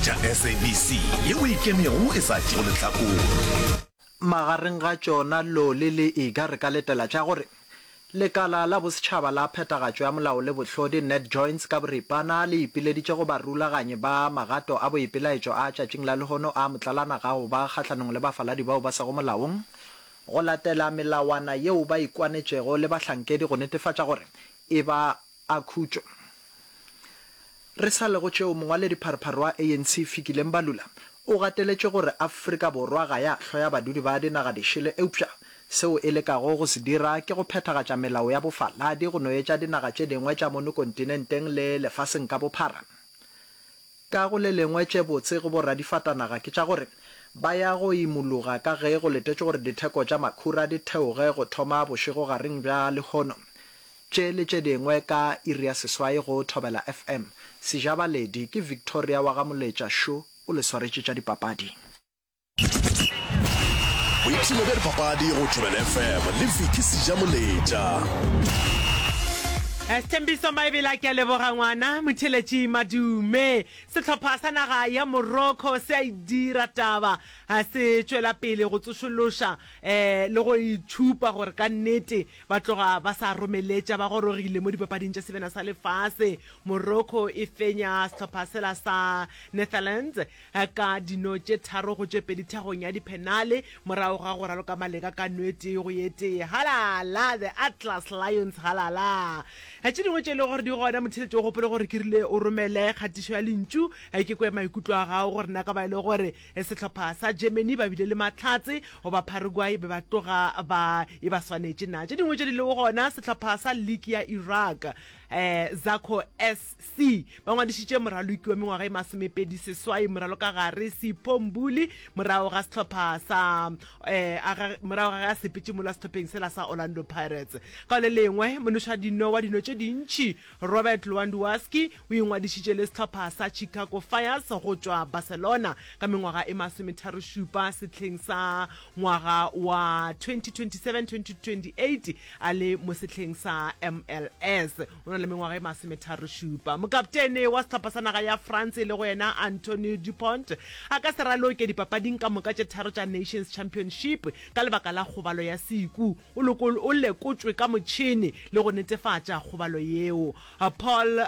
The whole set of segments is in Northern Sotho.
Theeletša SABC yeo e ikemego e sa tšeego lehlakore. Magareng ga tšona Loli le Iga re ka letela tša gore Lekala la Bosetšhaba la Phethagatšo ya Molao le Bohlodi, NatJoints ka boripana, le ipileditše go barulaganyi ba magato a boipelaetšo a tšatšing la lehono a motlalana ga go ba kgahlanong le bafaladi bao ba sego molaong go latela melawana yeo ba ikwanetšego le bahlankedi go netefatša gore e ba a khutšo. Re sa le go tšeo, mongwaledipharephare wa ANC Fikile Mbalula o gateletše gore Afrika Borwa ga ya hloya badudi ba dinaga dišele eupša seo e lekago go se dira ke go phethagatša melao ya bofaladi go no etša dinaga tše dingwe tša mono kontinenteng le lefaseng ka bophara. Ka go le lengwe tše botse go boradifatanaga ke tša gore ba ya go imologa ka ge go letetšwe gore ditheko tša makhura di theoge go thoma bošegogareng bja lehono. Tše le tše dingwe ka iri ya seswai go Thobela FM. Sejabaledi ke Victoria wa ga Moletša šo o le swaretše tša dipapadi. Boipshino bja dipapadi go Thobela FM le Vicky Sejamoletša. Sthembiso Maebela ke a leboga ngwana motheletši Madume. Sehlopha sa naga ya Morocco se a e dira taba se tšwela pele go tsošološa le go itšhupa gore ka nnete Ba tloga ba sa romeletša ba gorogile mo dipapading tša Sebjana sa Lefase. Morocco e fenya sehlopha sela sa Netherlands ka dino tše tharo go tše pedi thagong ya diphenale morago ga go raloka maleka ka no e tee go ye tee. Halala! The Atlas Lions halala! Tše dingwe tše e lego gore di gona, motheeletši o gopole gore ke rile o romele kgatišo ya lentšu ke kwe maikutlo a gago gore na ka ba e le gore Sehlopha sa Germany ba bile le mahlatse goba Paraguay be ba tloga ba e ba swanetše na? Tše dingwe tše di lego gona, sehlopha sa liki ya Iraq, Zakho SC, ba ngwadišitše moraloki wa mengwaga e masomepedi seswai moralokagare Sipho Mbuli morago ga sehlopha sa morago ga ge a sepetše mola sehlopheng sela sa Orlando Pirates. Ka le lengwe, monošadino wa dino tše dintši Robert Lewandowski o ingwadišitše le sehlopha sa Chicago Fires go tšwa Barcelona ka mengwaga e masometharošupa sehleng sa ngwaga wa 2027-2028 a le mo sehleng sa MLS. O na le mengwaga e masometharošupa. Mokaptene wa sehlopha sa naga ya France e lego yena Anthony Dupont a ka se raloke dipapading ka moka tše tharo tša Nations Championship ka lebaka la kgobalo ya seku. O o lekotšwe ka motšhene le go netefatša kgobalo yeo. Paul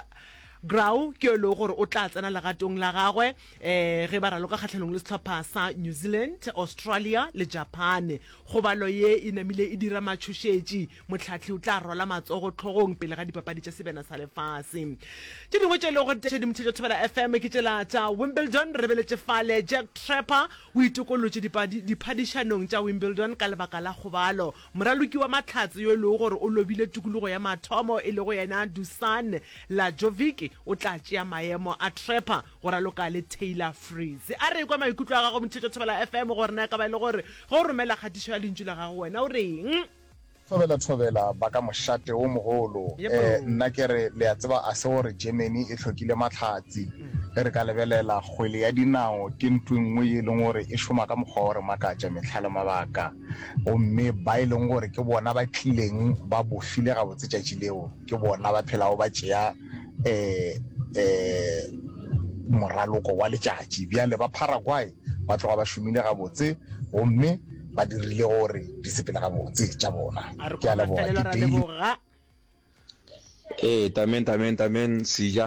Graou ke yo e lego gore o tla tsena legatong la gagwe ge ba raloka kgahlanong le sehlopha sa New Zealand, Australia le Japan. Kgobalo ye e namile e dira matšhošetši. Mohlahli o tla rwala matsogo hlogong pele ga dipapadi tša Sebjana sa Lefase. Tše dingwe tše e lego gore di tšhedimotšhetšo Thobela FM ke tšela tša Wimbledon. Re lebeletše fale Jack Trapper O itokollotše diphadišanong tša Wimbledon ka lebaka la kgobalo. Moraloki wa mahlatse yo e lego gore o lobile tikologo ya mathomo e lego yena Dusan Lajovic o tla tšea maemo a Trapper go raloka le Taylor Fritz. A re ekwe maikutlo a gago Mothetšo Thobela FM gore na e ka ba e le gore ge o romela kgatišo ya lentšu la gago wena o reng? Thobela thobela ba ka mošate wo mogolo. Yep. Nna ke re, le a tseba, a se gore Germany e hlokile mahlatse. Ge re ka lebelela, kgwele ya dinao ke ntho e nngwe ye e leng gore e šoma ka mokgwa wa go re makatša mehla le mabaka. Gomme ba e leng gore ke bona ba tlileng ba bofile gabotse tšatši leo, ke bona ba phelago ba tšea um moraloko wa letšatši. Bjale ba Paraguay ba tloga ba šomile gabotse gomme ba dirile gore di sepele gabotse tša bona. A re Ke a kwa leboga. mafelelo Ke ra Daily. leboga. Ee, tamen, tamen, tamen, Sija.